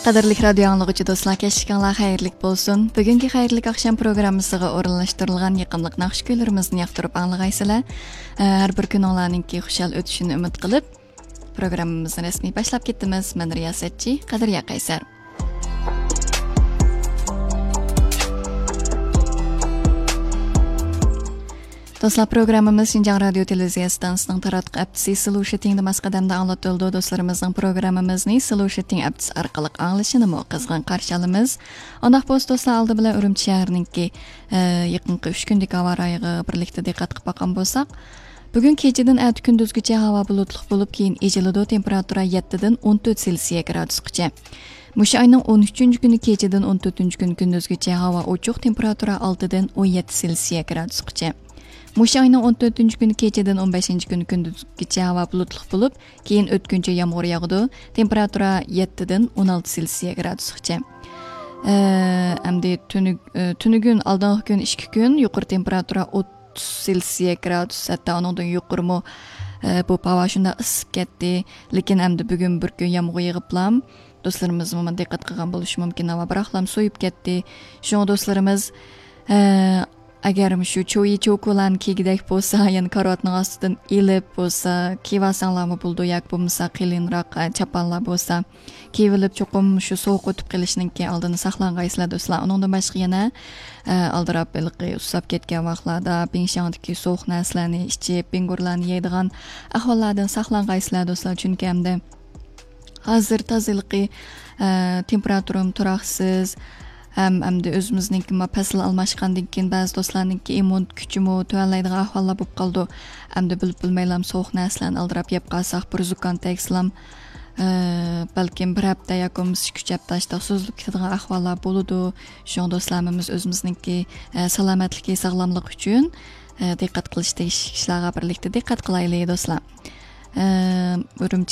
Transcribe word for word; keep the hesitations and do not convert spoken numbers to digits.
قەدىرلىك رادىيو ئاڭلىغۇچى دوستلار، كەچلىكىڭلار خەيرلىك بولسۇن. بۈگۈنكى خەيرلىك ئاخشام پروگراممىسىغا ئورۇنلاشتۇرۇلغان يېقىملىق ناخشا كۈيلىرىمىزنى ياقتۇرۇپ ئاڭلىغايسىلەر. ئە، ھەر بىر كۈنۈڭلارنىڭكى خۇشال ئۆتۈشىنى ئۈمىد قىلىپ، پروگراممىمىزنى رەسمىي باشلاپ كېتىمىز. مەن رىياسەتچى قەدرىيە قەيسەر. دوستلار، پروگراممىمىز شىنجاڭ رادىيو تېلېۋىزىيە ئىستانسىسىنىڭ تاراتقۇ ئەپتىسى سلۇشىتىڭدا ماس قەدەمدە ئاڭلىتىلىدۇ. دوستلىرىمىزنىڭ پروگراممىمىزنى سلۇشىتىڭ ئەپتىسى ئارقىلىق ئاڭلىشىنىمۇ قىزغىن قارشى ئالىمىز. ئۇنداق بولسا، دوستلار، ئالدى بىلەن ئۈرۈمچى شەھىرىنىڭكى، ئە، يېقىنقى ئۈچ كۈندىكى ھاۋا رايىغا بىرلىكتە دىققەت قىلىپ باققان بولساق، بۈگۈن كېچىدىن ئەتە كۈندۈزگىچە ھاۋا بۇلۇتلۇق بولۇپ، كېيىن ئېچىلىدۇ. تېمپېراتۇرا يەتتىدىن ئون تۆت سېلسىيە گرادۇسقىچە. مۇشۇ ئاينىڭ ئون ئۈچىنچى كۈنى كېچىدىن ئون تۆتىنچى كۈنى كۈندۈزگىچە ھاۋا ئوچۇق، تېمپېراتۇرا ئالتىدىن ئون يەتتە سېلسىيە گرادۇسقىچە. مۇشۇ ئاينىڭ ئون تۆتىنچى كۈنى كېچىدىن ئون بەشىنچى كۈنى كۈندۈزگىچە ھاۋا بۇلۇتلۇق بولۇپ، كېيىن ئۆتكۈنچى يامغۇر ياغىدۇ. تېمپېراتۇرا يەتتىدىن ئون ئالتە سېلسىيە گرادۇسقىچە. ئە، ئەمدى تۈنۈگ-، ئە، تۈنۈگۈن، ئالدىنقى كۈن، ئىككى كۈن يۇقىرى تېمپېراتۇرا ئوتتۇز سېلسىيە گرادۇس، ھەتتا ئۇنىڭدىن يۇقىرىمۇ، ئە، بولۇپ ھاۋا شۇنداق ئىسسىپ كەتتى. لېكىن ئەمدى بۈگۈن بىر كۈن يامغۇر يېغىپلام، دوستلىرىمىزمۇ دىققەت قىلغان بولۇشى مۇمكىن، ھاۋا بىراقلام سويۇپ كەتتى. شۇڭا دوستلىرىمىز، ئە، ئەگەر مۇشۇ چويى چوكۇلارنى كىيگۈدەك بولسا، يەنە كارىۋاتنىڭ ئاستىدىن ئېلىپ بولسا، كىيىۋالساڭلارمۇ بولىدۇ، ياكى بولمىسا قېلىنراق، ئە، چاپانلار بولسا كىيىۋېلىپ، چوقۇم شۇ سوغۇق ئۆتۈپ قېلىشنىڭكى ئالدىنى ساقلانغايسىلەر دوستلار. ئۇنىڭدىن باشقا يەنە، ئە، ئالدىراپ ھېلىقى ئۇسساپ كەتكەن ۋاقىتلاردا بىڭشياڭدىكى سوغۇق نەرسىلەرنى ئىچىپ، بىڭگۇرلارنى يەيدىغان ئەھۋاللاردىن ساقلانغايسىلەر دوستلار. چۈنكى ئەمدى ھازىر تازىلىقى، ئە، تېمپېراتۇرىمۇ تۇراقسىز. ھەم ئەمدى ئۆزىمىزنىڭكى ما پەسىل ئالماشقاندىن كېيىن بەزى دوستلارنىڭكى ئىممۇن كۈچىمۇ تۆۋەنلەيدىغان ئەھۋاللار بولۇپ قالىدۇ. ئەمدى بىلىپ بىلمەيلام سوغۇق نەرسىلەرنى ئالدىراپ يەپ قالساق، بىر زۇكام تەگسىلام، ئە، بەلكىم بىر ھەپتە ياكى بولمىسا ئىككى، ئۈچ ھەپتە ئاشتاق سوزۇلۇپ كېتىدىغان ئەھۋاللار بولىدۇ. شۇڭا دوستلار، ھەممىمىز ئۆزىمىزنىڭكى، ئە، سالامەتلىكى، ساغلاملىقى ئۈچۈن، ئە، دىققەت قىلىش تېگىشلىك ئىشلارغا بىرلىكتە دىققەت قىلايلى دوستلار. ئە، ئۈرۈمچىنى